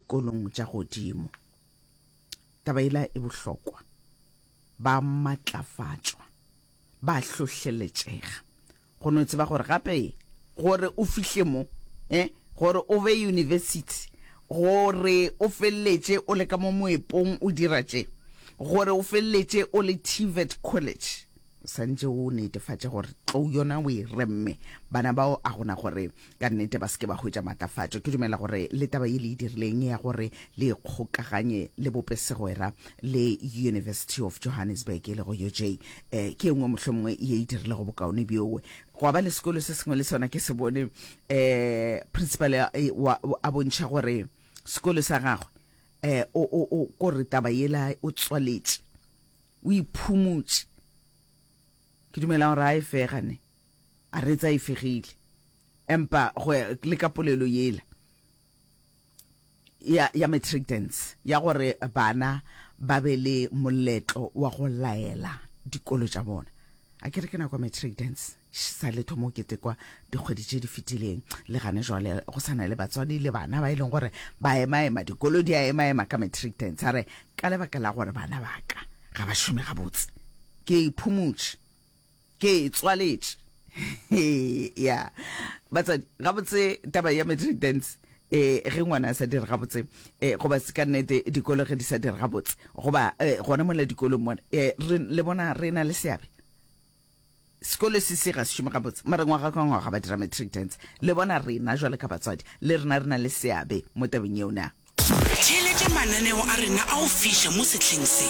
dikolong tša godimo. Taba yela e bohlokwa. Ba matlafatšwa, ba hlohleletšega go no tseba gore gape gore o fihle mo, eh, gore o be university, gore o feleletše o le ka mo moepong o dira tše, gore o feleletše o le TVET college, o santše o netefatše gore tlou yona o e remme. Bana bao a gona gore ka nnete ba se ke ba hwetša matlafatšo. Ke dumela gore le taba ye le e dirileng ya gore le ikgokaganye le bope segwera le University of Johannesburg e lego UJ, eh, ke e nngwe mohlomongwe ye e dirilego bokaone bjowe. Gwa ba le sekolo se sengwe le sona ke se bone eh, principal eh, wa, a bontšha gore sekolo sa gagwe eh, o, o, o, kore taba yela o tswaletše, o iphumotše. Ke dumela gore a e fega ne. A re tsa e fegile. Empa go le ka polelo yela ya, ya matric dance, ya gore bana ba be le moletlo wa go laela dikolo tša bona. A ke re ke nako ya matric dance sa le thomo ketekwa dikgwedi tše di fetileng le gane jwale go sa na le batswadi le bana ba e leng gore ba emaema dikolo di a emaema ka matric dance a re ka lebaka la gore bana ba ka ga ba šome gabotse ke iphumotše Ke e tswaletše. Ya. Batswadi, gabotse taba ya matric dance, eh, ge ngwana a sa dire gabotse, eh, goba se ka nnete dikolo ge di sa dire gabotse, goba eh, gona mola dikolong mona, eh, re, le bona re na le seabe. Sekolo se se ga se šome gabotse, mara ngwaga ka ngwaga ba dira matric dance. Le bona rena jwale ka batswadi, le rena re na le seabe mo tabeng yeo na? Theeletša mananeo a rena a go fiša mo sehleng se.